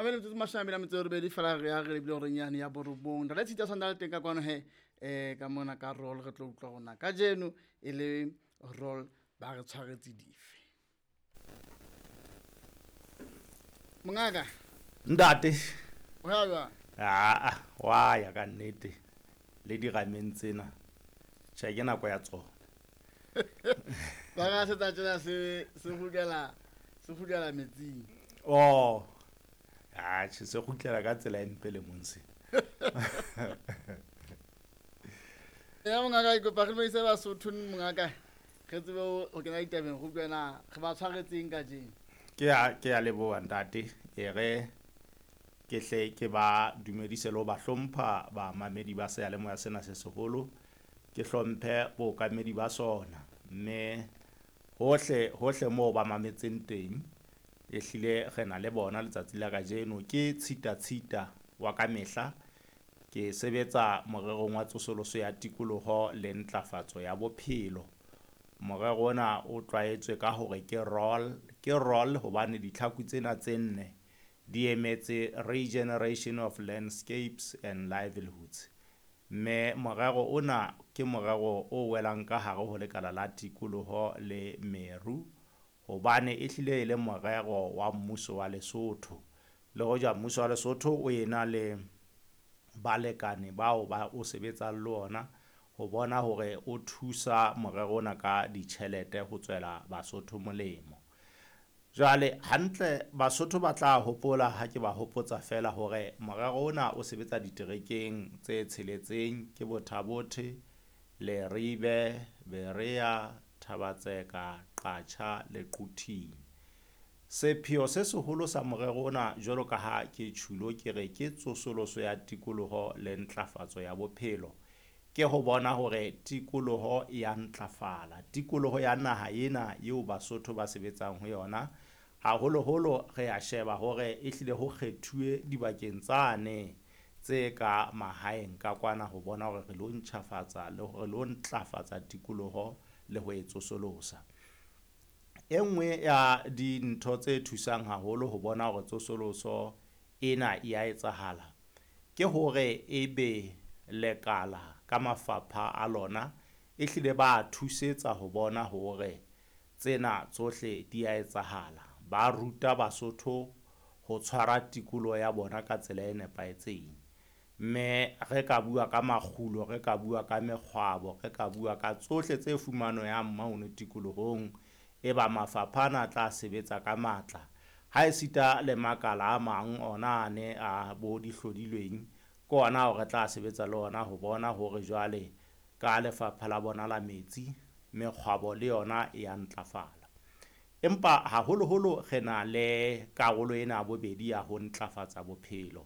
Mamele metsotso 28 fela re ya re lebile horeng yane ya borobong. Ntate Tshita santsa le teng ka kwano he, ka mona ka roll re tlo utlwa rona kajeno e le roll ba re tshwaretse dife. Mongaka. Ntate. O ya jwang? Aa, wa ya ka nnete le dirameng tsena. Tjhe, ke nako ya tsona. Ba ga se tsa tsena se se kgutlela se kgutlela metsing. Oh. Atjhe, se kgutlela ka tsela e mpe le mong se. Ya mongaka, ke kopa re dumedise Basotho mongaka. Re tsebe ho kena ditabeng go utlwe na re ba tshwaretseng kajeno. Ke ya leboha ntate. E re ke hle ke ba dumedise le ho ba hlompha bamamedi ba seyalemoya sena se seholo. Ke hlomphe bookamedi ba sona, mme hohle hohle moo ba mametseng teng ehlile re na le bona letsatsi la kajeno. Ke Tshita Tshita wa ka mehla, ke sebetsa morerong wa tsosoloso ya tikoloho le ntlafatso ya bophelo. Morero ona o tlwaetswe ka hore ke roll, ke roll hobane ditlhaku tsena tse nne di emetse Regeneration of Landscapes and Livelihoods. Mme morero ona ke morero o welang ka hare ho lekala la tikoloho le meru, hobane ehlile e le morero wa mmuso wa Lesotho. Le hoja mmuso wa Lesotho o ena le balekane bao ba o sebetsang le ona ho bona hore o thusa morero ona ka ditjhelete ho tswela Basotho molemo. Jwale hantle Basotho ba tla hopola ha ke ba hopotsa fela hore morero ona o sebetsa diterekeng tse tsheletseng, ke Botha-Bothe, Leribe, Berea, Thaba-Tseka, Qacha le Quthing. Sepheo se seholo sa morero ona jwalo ka ha ke tjhulo ke re ke tsosoloso ya tikoloho le ntlafatso ya bophelo, ke ho bona hore tikoloho e ya ntlafala. Tikoloho ya naha ena eo Basotho ba sebetsang ho yona, haholoholo re a sheba hore ehlile ho kgethuwe dibakeng tsane tse ka mahaeng ka kwana ho bona hore re lo ntjhafatsa le hore lo ntlafatsa tikoloho le ho e tsosolosa. E nngwe ya dintho tse thusang haholo ho bona hore tsosoloso ena e ya etsahala, ke hore ebe lekala ka mafapha a lona ehlile ba thusetsa ho bona hore tsena tsohle di ya etsahala. Ba ruta Basotho ho tshwara tikoloho ya bona ka tsela e nepahetseng. Mme re ka bua ka makgulo, re ka bua ka mekgwabo, re ka bua ka tsohle tse fumanehang mono tikolohong, e ba mafapha ana a tla sebetsa ka matla. Ha esita le makala a mang ona ane a bo dihlodilweng, ke ona ao re tla sebetsa le ona ho bona hore jwale ka lefapha la bona la metsi, mekgwabo le yona e ya ntlafala. Empa haholoholo re na le karolo ena ya bobedi ya ho ntlafatsa bophelo.